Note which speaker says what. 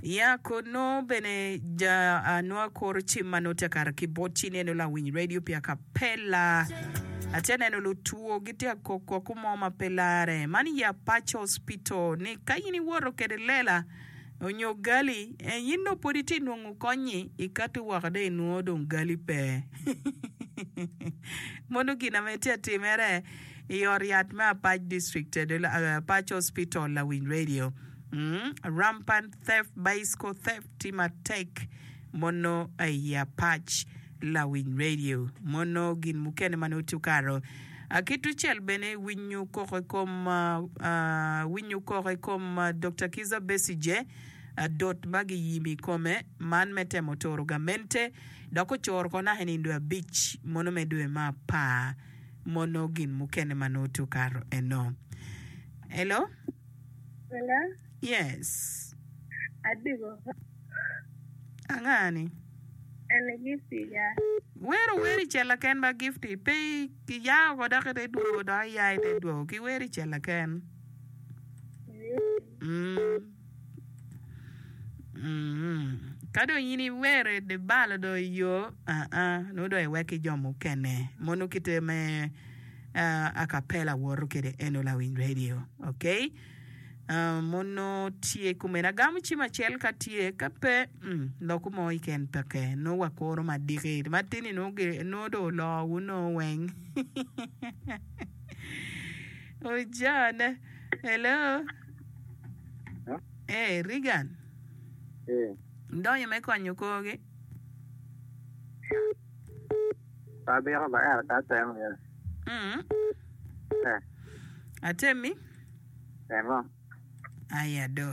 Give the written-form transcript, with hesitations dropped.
Speaker 1: Ya kono bene ja anwo akoro cim ma nongo tye kato ki bot ci ineno lawiny radio pi acapella. Atye neno lutwo gitye ka koko koko mo ma pe lare. Man i Apac Hospital ni ka in iwoto kede lela onyo gali eh, in dong pwod itye nongo kony-nyi ikati woko dong inwongo dong gali pe. Mono gin ame tye atimere i ot yat me Apac District, Apac Hospital lawiny radio. Rampant theft, bicycle theft tye matek mono i Apac lawiny radio mono gin mukene ma nongo tye okato. Ki tucel bene winyo koko i kom winyo koko i kom Dokta Kizza Besigye dot ma giyimo i kome man me temo turo gamente dok ocoro ko naka i nino dwe abic mono me dwe me apar mono gin mukene ma nongo tye okato eno. Hello.
Speaker 2: Hello?
Speaker 1: Yes.
Speaker 2: Adiko.
Speaker 1: Anga ni?
Speaker 2: Eni Gifty ya.
Speaker 1: Wero wer i cella ken ba Gifty. Pe iya oko dok ite dwogo dok iya ite dwogo. Ki wer i cella ken. Mm. Mm. Ka dong in iwero ibalo dong i yo, aa, nongo dong iwek ki jo mukene. Mono kite me acapella woto kwede eno lawiny radio. Ok? Mono tye kumene. Agamo cim acel ka tye, ka pe, mm, loko mo keken peke. Nongo wakuro madiki. Matini nongo nongo dong oloo nongo weng. Ojone. Hello. Hey, Regan.
Speaker 3: Eh.
Speaker 1: Ndonyo me konyo korgi.
Speaker 3: Pe abito ba ento ka atemo ya.
Speaker 1: Mm.
Speaker 3: Eh.
Speaker 1: Atemi?
Speaker 3: Temo.
Speaker 1: Aya do.